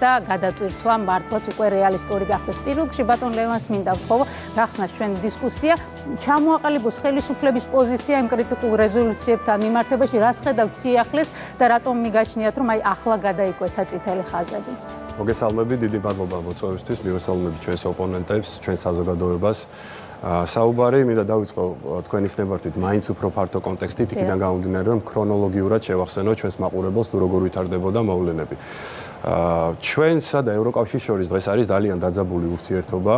და გადატვირთვა მართლაც უკვე რეალისტური გახდეს. პირველ რიგში ბატონ ლევანს მინდა ვთხოვო, გახსნას ჩვენი დისკუსია, ჩამოაყალიბოს ხელისუფლების პოზიცია იმ კრიტიკულ რეზოლუციებთან მიმართებაში, რას ხედავთ სიახლეს და რატომ მიგაჩნიათ, რომ აი ახლა გადაიკვეთა წითელი ხაზები. მოგესალმები, დიდი მადლობა მოწვევისთვის, მივესალმები ჩვენს ოპონენტებს, ჩვენ საზოგადოებას. საუბარი მინდა დავიწყო თქვენის ნებართვით მაინც უფრო ფართო კონტექსტით, იქიდან გამომდინარე, რომ ქრონოლოგიურად შევახსენო ჩვენს მაყურებელს თუ როგორ ვითარდებოდა მოვლენები. ჩვენსა და ევროკავშირის შორის დღეს არის ძალიან დაძაბული ურთიერთობა.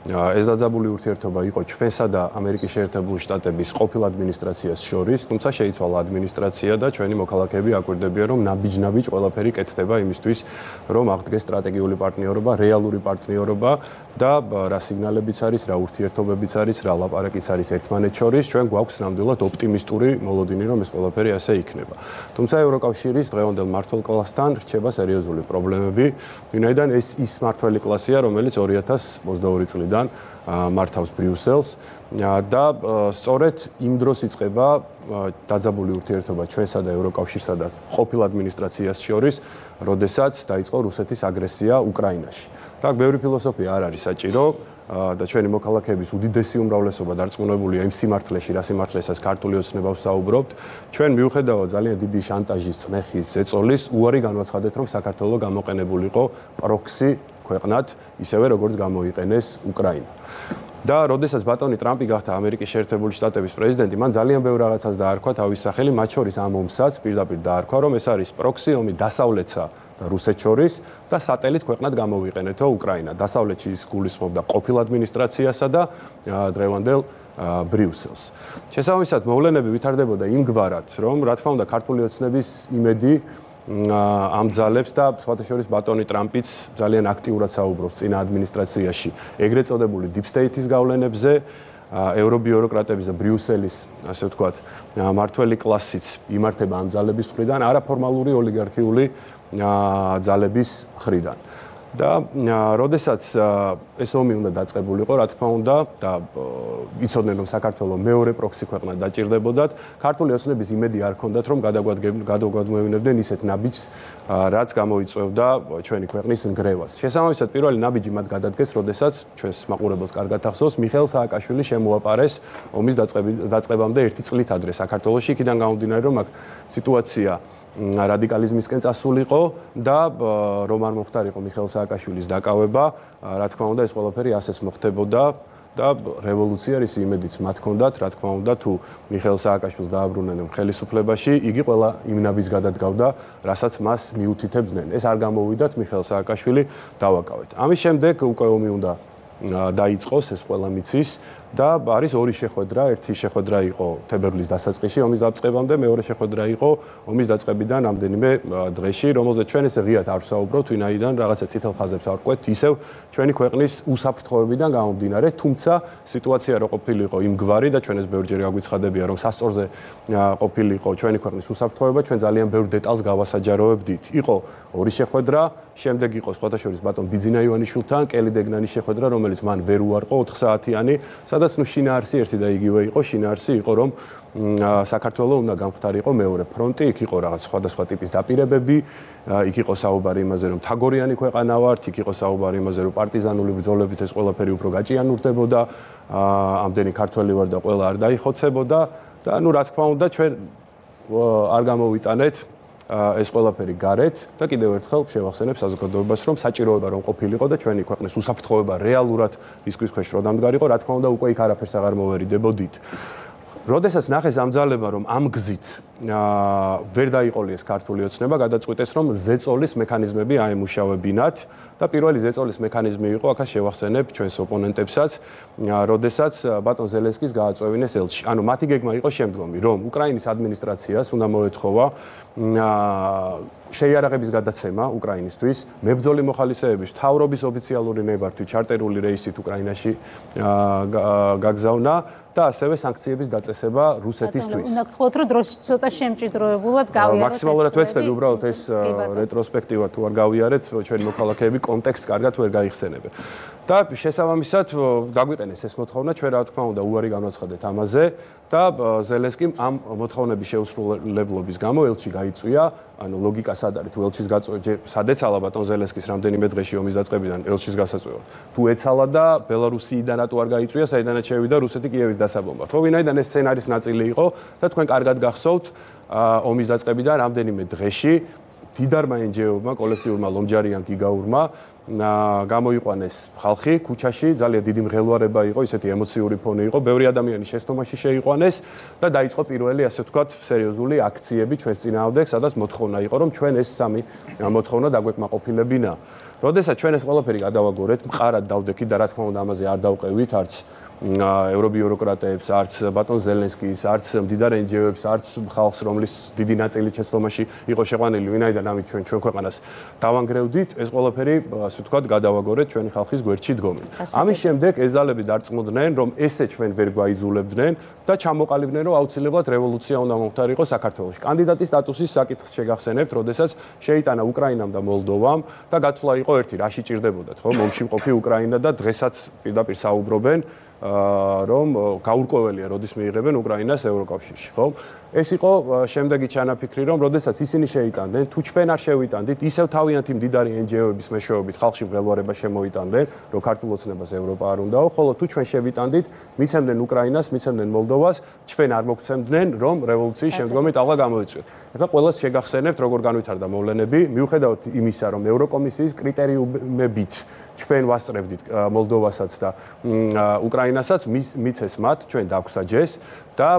ეს დაძაბული ურთიერთობა იყო ჩვენსა და ამერიკის შეერთებული შტატების ყოფილ ადმინისტრაციას შორის, თუმცა შეიცვალა ადმინისტრაცია და ჩვენი მოქალაქეები აკვირდებიან, რომ ნაბიჯ-ნაბიჯ ყველაფერი კეთდება იმისთვის, რომ აღდგეს სტრატეგიული პარტნიორობა, რეალური პარტნიორობა და რა სიგნალებიც არის, რა ურთიერთობებიც არის, რა ლაპარაკიც არის ერთმანეთს შორის, ჩვენ გვაქვს ნამდვილად ოპტიმისტური მოლოდინი, რომ ეს ყველაფერი ასე იქნება. თუმცა ევროკავშირის დღევანდელ მმართველ კლასთან რჩება სერიოზული პრობლემები, ვინაიდან ეს ის მმართველი კლასია, რომელიც 2022 წლიდან მართავს ბრიუსელს და სწორედ იმ დროს იწყება დაძაბული ურთიერთობა ჩვენსა და ევროკავშირსა და ყოფილ ადმინისტრაციას შორის, როდესაც დაიწყო რუსეთის აგრესია უკრაინაში. და ბევრი ფილოსოფია არ არის საჭირო და ჩვენი მოქალაქეების უდიდესი უმრავლესობა დარწმუნებულია იმ სიმართლეში, რა სიმართლესაც ქართული ოცნება ვსაუბრობთ. ჩვენ მიუხედავად ძალიან დიდი შანტაჟის, წნეხის, ზეწოლის, უარი განვაცხადეთ, რომ საქართველოს გამოყენებულიყო პროქსი ქვეყნად, ისევე როგორც გამოიყენეს უკრაინა. და როდესაც ბატონი ტრამპი გახდა ამერიკის შეერთებული შტატების პრეზიდენტი, მან ძალიან ბევრ რაღაცას დაარქვა თავის სახელი, მათ შორის ამ ომსაც პირდაპირ დაარქვა, რომ ეს არის პროქსი ომი დასავლეთსა და რუსეთს შორის და სატელიტ ქვეყნად გამოვიყენეთო უკრაინა. დასავლეთში ის გულისხმობდა ყოფილ ადმინისტრაციასა და დღევანდელ ბრიუსელს. შესაბამისად, მოვლენები ვითარდებოდა იმგვარად, რომ რა თქმა უნდა ქართული ოცნების იმედი ამძალებს და სხვათა შორის ბატონი ტრამპიც ძალიან აქტიურად საუბრობს წინა ადმინისტრაციაში ეგრეთ წოდებული deep state-ის გავლენებზე, ევრობიუროკრატების და ბრიუსელის, ასე ვთქვათ, მართველი კლასიც იმართება ამ ძალების მხრიდან, არაფორმალური ოლიგარქიული ძალების მხრიდან. და როდესაც ეს ომი უნდა დაწყებულიყო, რა თქმა უნდა, და იცოდნენ, რომ საქართველოს მეორე პროქსი ქვეყნად დაჭირდებოდათ, ქართული ოცნების იმედი არ ჰქონდათ, რომ გადაგვადმევინებდნენ ისეთ ნაბიჯს, რაც გამოიწვევდა ჩვენი ქვეყნის ნგრევას. შესაბამისად, პირველი ნაბიჯი მათ გადადგეს, როდესაც ჩვენს მაყურებელს კარგად ახსოვს, მიხეილ სააკაშვილი შემოაპარეს ომის დაწყებამდე 1 წლით ადრე საქართველოში, იქიდან გამომდინარე, რომ აქ სიტუაცია რადიკალიზმისკენ წასულიყო და რომ არ მოხდარიყო მიხეილ სააკაშვილის დაკავება, რა თქმა უნდა, ეს ყველაფერი ასეც მოხდებოდა და რევოლუცია რის იმედიც მათ ჰქონდათ, რა თქმა უნდა, თუ მიხეილ სააკაშვილს დააბრუნებდნენ ხელისუფლებაში, იგი ყველა იმ ნაბიჯს გადადგავდა, რასაც მას მიუთითებდნენ. ეს არ გამოვიდათ, მიხეილ სააკაშვილი დავაკავეთ. ამის შემდეგ უკვე ომი უნდა დაიწყოს, ეს ყველა მიცის. და არის ორი შეხვედრა, ერთი შეხვედრა იყო თებერვლის დასაწყისში ომის დაწყებამდე, მეორე შეხვედრა იყო ომის დაწყებიდან რამდენიმე დღეში, რომელზეც ჩვენ ესე ღიად არ ვსაუბრობთ, ვინაიდან რაღაცა წითელ ხაზებს არ ვყვეთ, ისევ ჩვენი ქვეყნის უსაფრთხოებიდან გამომდინარე, თუმცა სიტუაცია რო ყოფილიყო იმგვარი და ჩვენ ეს ბევრჯერ გაგვიცხადებია, რომ სასწორზე ყოფილიყო ჩვენი ქვეყნის უსაფრთხოება, ჩვენ ძალიან ბევრ დეტალს გავასაჯაროებდით. იყო ორი შეხვედრა, შემდეგ იყო სხვათა შორის ბატონ ბიძინა ივანიშვილთან, კელი დეგნანის შეხვედრა, რომელიც მან ვერ უარყო 4 საათიანი, სადაც შინაარსი ერთი და იგივე იყო, შინაარსი იყო, რომ საქართველოს უნდა გამختارიყო მეორე ფრონტი, იქ იყო რაღაც სხვადასხვა ტიპის დაპირებები, იქ იყო საუბარი იმაზე, რომ თაგორიანი ქვეყანა ვართ, იქ იყო საუბარი იმაზე, რომ პარტიზანული ბრძოლებით ეს ყველაფერი უფრო გაჭიანურდებოდა, ამდენი ქართველი ვარ და ყველა არ დაიხოცებოდა და რა თქმა უნდა, ჩვენ არ გამოვიტანეთ ეს ყველაფერი გარეთ და კიდევ ერთხელ შევახსენებ საზოგადოებას, რომ საჭიროება რომ ყოფილიყო და ჩვენი ქვეყნის უსაფრთხოება რეალურად რისკის ქვეშ რომ დამდგარიყო, რა თქმა უნდა, უკვე იქ არაფერს აღარ მოვერიდებოდით. როდესაც ნახეს ამ ძალება, რომ ამ გზით ვერ დაიყოლიეს ქართული ოცნება, გადაწყვიტეს, რომ ზეწოლის მექანიზმები აემუშავებინათ და პირველი ზეწოლის მექანიზმი იყო, აქაც შევახსენებ ჩვენს ოპონენტებსაც, როდესაც ბატონ ზელენსკის გააწვევინეს ელჩი. ანუ მათი გეგმა იყო შემდგომი, რომ უკრაინის ადმინისტრაციას უნდა მოეთხოვა შეიარაღების გადაცემა უკრაინისთვის, მებრძოლი მოხალისეების მთავრობის ოფიციალური ნებართვით ჩარტერული რეისით უკრაინაში გაგზავნა და ასევე სანქციების დაწესება რუსეთისთვის. უნდა გთხოვოთ, რომ დროში ცოტა შემჭიდროებულად გავიაროთ. მაქსიმალურად ვეცდები უბრალოდ ეს რეტროსპექტივა თუ არ გავიარეთ, ჩვენი მოქალაქეები კონტექსტს კარგად ვერ გაიხსენებენ. და შესაბამისად დაგვიყენეს ეს მოთხოვნა, ჩვენ რა თქმა უნდა უარი განვაცხადეთ ამაზე და ზელენსკიმ ამ მოთხოვნების შეუსრულებლობის გამო ელჩი გაიწვია ანუ ლოგიკა სად არის თუ ელჩის გაწყვეტა სად ეცალა ბატონ ზელენსკის რამდენიმე დღეში ომის დაწყებიდან ელჩის გასაწვევად თუ ეცალა და ბელარუსიიდან რატო არ გაიწვია საიდანაც შევიდა რუსეთი კიევის დასაბომბად ხო ვინაიდან ეს სცენარის ნაწილი იყო და თქვენ კარგად გახსოვთ ომის დაწყებიდან რამდენიმე დღეში დიდარმა NGO-მა კოლექტიურმა ლომჯარიან გიგაურმა გამოიყვანეს ხალხი ქუჩაში ძალიან დიდი მღელვარება იყო ისეთი ემოციური ფონი იყო ბევრი ადამიანი შეცდომაში შეიყვანეს და დაიწყო პირველი ასე ვთქვათ სერიოზული აქციები ჩვენს წინააღმდეგ სადაც მოთხოვნა იყო რომ ჩვენ ეს სამი მოთხოვნა დაგვეკმაყოფილებინა როდესაც ჩვენ ეს ყველაფერი გადავაგორეთ მყარად დავდექით და რა თქმა უნდა ამაზე არ დავყევით არც ევრობიუროკრატებს არც ბატონ ზელენსკის არც მდიდარ NGO-ებს არც ხალხს რომლის დიდი ნაწილი შეცდომაში იყო შეყვანილი ვინაიდან ამით ჩვენ ქვეყანას დავანგრევდით ეს ყველაფერი ასე ვთქვათ გადავაგორეთ ჩვენი ხალხის გვერდში დგომით ამის შემდეგ ეს ძალები დარწმუნდნენ რომ ესე ჩვენ ვერ გვაიძულებდნენ და ჩამოყალიბდნენ რომ აუცილებლად რევოლუცია უნდა მომხდარიყო საქართველოში კანდიდატის სტატუსის საკითხს შეგახსენებთ როდესაც შეიტანა უკრაინამ და მოლდოვამ და გათვლა იყო ერთი რაში ჭირდებოდათ ხო მომში მყოფი უკრაინა და დღესაც პირდაპირ საუბრობენ რომ გაურკვეველია როდის მიიღებენ უკრაინას ევროკავშირში ხო ეს იყო შემდეგი ჩანაფიქრი რომ როდესაც ისინი შეიტანდნენ თუ ჩვენ არ შევიტანდით ისევ თავიანთი მდიდარი NGO-ების მეშვეობით ხალხში მღელვარება შემოიტანდნენ რომ ქართულ ოცნებას ევროპა არ უნდაო ხოლო თუ ჩვენ შევიტანდით მიცემდნენ უკრაინას მიცემდნენ მოლდოვას ჩვენ არ მოგცემდნენ რომ რევოლუციის შემდგომი ტალღა გამოიწვიოთ ეხლა ყველას შეგახსენებთ როგორ განვითარდა მოვლენები მიუხედავად იმისა რომ ევროკომისიის კრიტერიუმებით ჩვენ ვასწრებდით მოლდოვასაც და უკრაინასაც მიცეს მათ ჩვენ დაგვსაჯეს და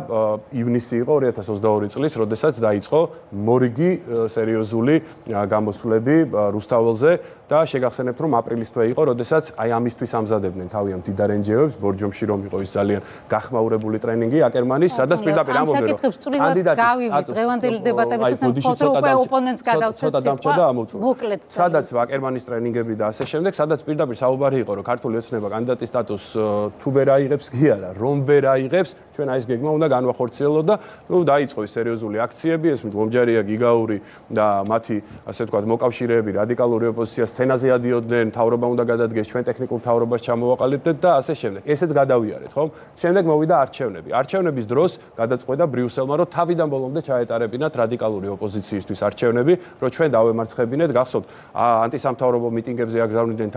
ივნისი იყო 2022 წლის, როდესაც დაიწყო მორიგი სერიოზული გამოსვლები რუსთაველზე და შეგახსენებთ რომ აპრილის თვე იყო, როდესაც აი ამისთვის ამზადებდნენ თავიანთ მდიდარ NGO-ებს, ბორჯომში რომ იყო ის ძალიან გახმაურებული ტრენინგი აკერმანის, სადაც პირდაპირ ამბობდნენ რომ კანდიდატის დღევანდელი დებატების უკვე ოპონენტს გადავცეთ მოკლედ სადაც აკერმანის ტრენინგები და ასე შემდეგ, სადაც პირდაპირ საუბარი იყო რომ ქართული ოცნება კანდიდატის სტატუსს თუ ვერ აიღებს კი არა, რომ ვერ აიღებს, ჩვენ აი ეს გეგმა უნდა განვახორციელოთ და ნუ დაიწყო ის სერიოზული აქციები, ეს ლომჯარია, გიგაური და მათი ასე ვთქვათ მოკავშირეები რადიკალური ოპოზიცია სცენაზე ადიოდნენ, მთავრობა უნდა გადადგეს, ჩვენ ტექნიკურ მთავრობას ჩამოვაყალიბდეთ და ასე შემდეგ. ესეც გადავიარეთ, ხო? შემდეგ მოვიდა არჩევნები. არჩევნების დროს გადაწყვეტა ბრიუსელმა, რომ თავიდან ბოლომდე ჩაეტარებინათ რადიკალური ოპოზიციისთვის არჩევნები, რომ ჩვენ დავემარცხებინეთ, გახსოვთ, ანტისამთავრობო მიტინგებზე აგზავნიდნენ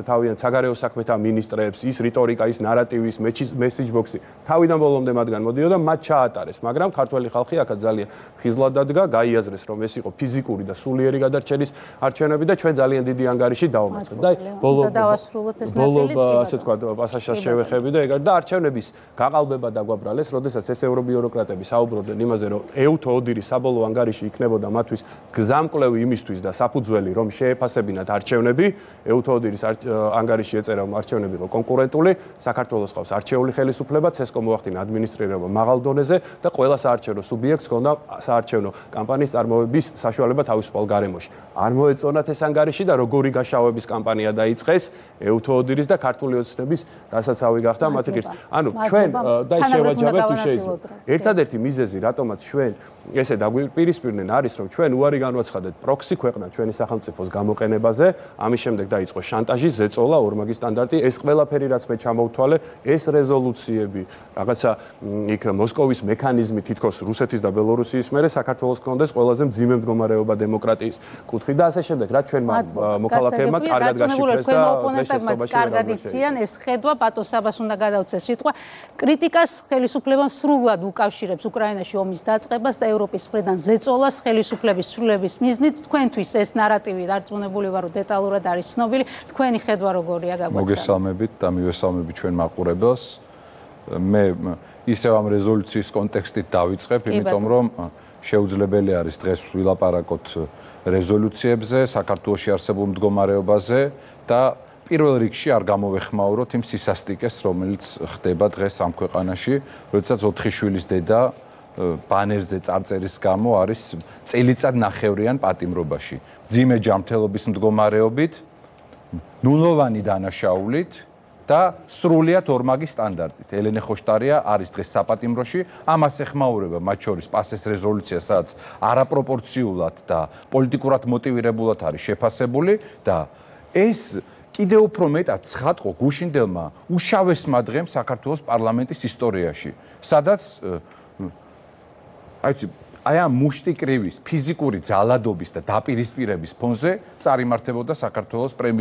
თავიანთ საგარეო საქმეთა მინისტრებს, ის რიტორიკა, ის ნარატივი, ის მესიჯ ბოქსი თავიდან ბოლომდე მათგან მოდიოდა, მათ ჩაატარეს, მაგრამ ქართველი ხალხი აქაც ძალიან ხიზლად დადგა, გაიაზრეს, რომ ეს იყო ფიზიკური და სულიერი გადარჩენის არჩევნები და ჩვენ ძალიან დიდი ანგარიში დავამარცხეთ და ბოლო ასე ვთქვათ, პასაჟს შევეხები და ეგარ და არჩევნების გაყალბება დაგვაბრალეს, როდესაც ეს ევრობიუროკრატები საუბრობდნენ იმაზე, რომ ეუთო ოდირის საბოლოო ანგარიში იქნებოდა მათთვის გზამკვლევი იმისთვის და საფუძველი, რომ შეეფასებინათ არჩევნები, ეუთო ოდირის ანგარიში ეწერა, რომ არჩევნები იყო კონკურენტული, საქართველოს ყავს არჩეული ხელისუფლება, ცესკო მოახდინა ადმინისტრირება მაღალ დონეზე და ყველა საარჩევნო სუბიექტს ჰქონდა საარჩევნო კამპანიის წარმოების საშუალება თავისუფალ გარემოში. არ მოეწონათ ეს ანგარიში და როგორი გაშავების კამპანია დაიწყეს ეუთო ოდირის და ქართული ოცნების დასაცავი გახდა მათი ღირს. ანუ ჩვენ და შევაჯამებთ თუ შეიძლება. ერთადერთი მიზეზი, რატომაც ჩვენ ესე დაგვიპირისპირდნენ არის, რომ ჩვენ უარი განვაცხადეთ პროქსი ქვეყნა ჩვენი სახელმწიფოს გამოყენებაზე, ამის შემდეგ დაიწყო შანტაჟი, ზეწოლა, ორმაგი სტანდარტი, ეს ყველაფერი რაც მე ჩამოვთვალე, ეს რეზოლუციები, რაღაცა იქ მოსკოვის მექანიზმი თითქოს რუსეთის და ბელორუსიის მერე საქართველოს კონდეს ყველაზე მძიმე მდგომარეობა დემოკრატიის კუთხით და ასე შემდეგ, რაც ჩვენ მოქალაქეებმა კარგად გაშიფრეს და ოპონენტებმაც კარგად იციან, ეს ხედვა პატოსაბას უნდა გადავცეს სიტყვა, კრიტიკას ხელისუფლებამ სრულად უკავშირებს უკრაინაში ომის დაწყებას და ევროპის მხრიდან ზეწოლას ხელისუფლების ცვლილების მიზნით. თქვენთვის ეს ნარატივი დარწმუნებული ვარ, რომ დეტალურად არის ცნობილი. თქვენი ხედვა როგორია გაგვაცნობთ? მოგესალმებით და მივესალმებით ჩვენ მაყურებელს. მე ისევ ამ რეზოლუციის კონტექსტით დავიწყებ, იმიტომ რომ შეუძლებელი არის დღეს ვილაპარაკოთ რეზოლუციებზე, საქართველოში არსებულ მდგომარეობაზე და პირველ რიგში არ გამოვეხმაუროთ იმ სისასტიკეს, რომელიც ხდება დღეს ამ ქვეყანაში, როდესაც 4 შვილის დედა ბანერზე წარწერის გამო არის წელიწად ნახევრიან პატიმრობაში. მძიმე ჯანმრთელობის მდგომარეობით, ნულოვანი დანაშაულით და სრულიად ორმაგი სტანდარტით. ელენე ხოშტარია არის დღეს საპატიმროში, ამას ეხმაურება მათ შორის პასეს რეზოლუცია, სადაც არაპროპორციულად და პოლიტიკურად მოტივირებულად არის შეფასებული და ეს კიდევ უფრო მეტად ცხადყო გუშინდელმა უშავესმა დღემ საქართველოს პარლამენტის ისტორიაში, სადაც აი ამ მუშტიკრივის, ფიზიკური ძალადობის და დაპირისპირების ფონზე წარიმართებოდა საქართველოს პრემიერ